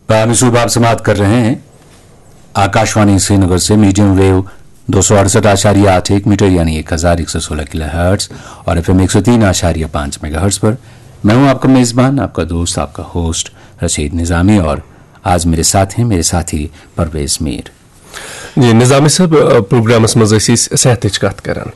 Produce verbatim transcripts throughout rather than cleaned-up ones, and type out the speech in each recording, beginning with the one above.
Prime صبح آپ سماعت کر رہے ہیں آکاشوانی سرینگر سے میڈیم ویو دو سو اڑسٹھ آشاریہ آٹھ ایک میٹر یعنی ایک ہزار ایک سو سولہ کلو ہرٹز اور ایف ایم ایک سو تین آشاریہ پانچ میگا ہرٹز پر۔ میں ہوں آپ کا میزبان، آپ کا دوست، آپ کا ہوسٹ رشید نظامی، اور آج میرے ساتھ ہیں میرے ساتھی پرویز میر۔ جی نظامی صٲب، آ، پروگرامس منٛز ٲسۍ أسۍ صحتٕچ کتھ کران،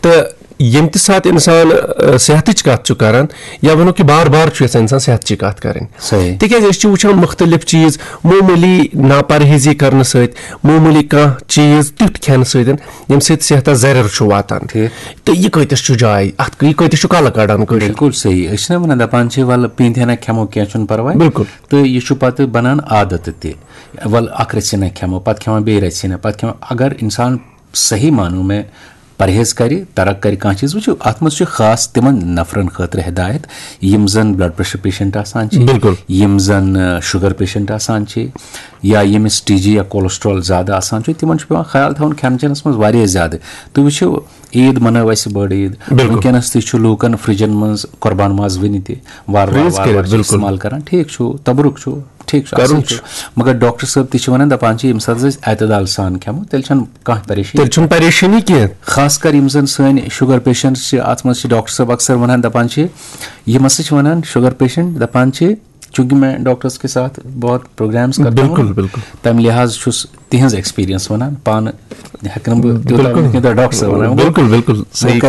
تہٕ ییٚمہِ تہِ ساتہٕ انسان آ، صحتٕچ کتھ چھُ کران، یا ونو کہِ بار بار چھُ یژھان انسان صحتٕچ کتھ کرٕنۍ۔ صحیح۔ تِکیازِ أسۍ چھِ وٕچھان مختلف چیٖز، معموٗلی ناپرہیزی کرنہٕ سۭتۍ، معموٗلی کانٛہہ چیٖز تیُتھ کھٮ۪نہٕ سۭتۍ، ییٚمہِ سۭتۍ صحتس زرٮ۪ر چھُ واتان۔ ٹھیٖک۔ تہٕ یہِ کۭتِس چھُ جاے، اتھ یہِ کۭتِس چھُ کلہٕ کڑان کٲشِر؟ بالکل صحیح۔ أسۍ چھِنہ ونان، دپان چھِ، ولہٕ پیٖنتہِ ہنا کھٮ۪مو، کینٛہہ چھُنہٕ پرواے۔ بالکل۔ تہٕ یہِ چھُ پتہٕ بنان عادت تہِ۔ ولہٕ اکھ رژھِ ہنا کھٮ۪مو، پتہٕ کھٮ۪مو بیٚیہِ رژھِ ہنا، پتہٕ کھٮ۪مو۔ اگر انسان صحیح معنوں میں پرہیز کرِ، ترک کرِ کانٛہہ چیٖز، وٕچھِو، اتھ منٛز چھُ خاص تِمن نفرن خٲطرٕ ہدایت، یِم زن بلڈ پریشر پیشنٹ آسان چھِ، بالکل۔ یِم زن شُگر پیشنٹ آسان چھِ، یا ییٚمِس ٹی جی یا کولیسٹرول زیادٕ آسان چھُ، تِمن چھُ پٮ۪وان خیال تھاوُن کھٮ۪ن چٮ۪نس منٛز واریاہ زیادٕ۔ تُہۍ وٕچھِو، عیٖد منٲو اَسہِ بٔڑ عیٖد۔ بالکل۔ وٕنکیٚنَس تہِ چھُ لوٗکَن فرجَن منٛز قۄربان ماز وٕنہِ تہِ وارٕ وارٕ Freeze وارٕ کٔرِتھ، وارٕ چھِ بالکل۔ استعمال کران۔ ٹھیٖک چھُ، تَبرُک چھُ، ٹھیٖک چھُ، کَرُن اَصٕل چھُ۔ چھُ۔ مگر ڈاکٹر صٲب تہِ چھِ وَنان، دَپان چھِ، ییٚمہِ ساتہٕ أسۍ اعتدال سان کھٮ۪مو، تیٚلہِ چھَنہٕ کانٛہہ پریشٲنی۔ تیٚلہِ چھُنہٕ پریشٲنی کینٛہہ۔ خاص کر یِم زَن سٲنۍ شُگر پیشنٹس چھِ، اَتھ منٛز چھِ ڈاکٹر صٲب اکثر وَنان، دَپان چھِ، یِم ہسا چھِ وَنان شُگر پیشنٹ، دَپان چھِ، چوٗنٛکہِ میں ڈاکٹرس کے ساتھ بہت پروگرامز کرتا ہوں، بالکل، بالکل۔ تَمہِ لحاظ چھُس تِہنٛز ایکسپیرینس وَنان، پانہٕ ہٮ۪کہٕ نہٕ بہٕ تیوٗتاہ بالکل۔ ؤنِتھ، یوٗتاہ ڈاکٹر صٲب وَنان۔ بالکل، بالکل۔ بہٕ صحیح کَرٕ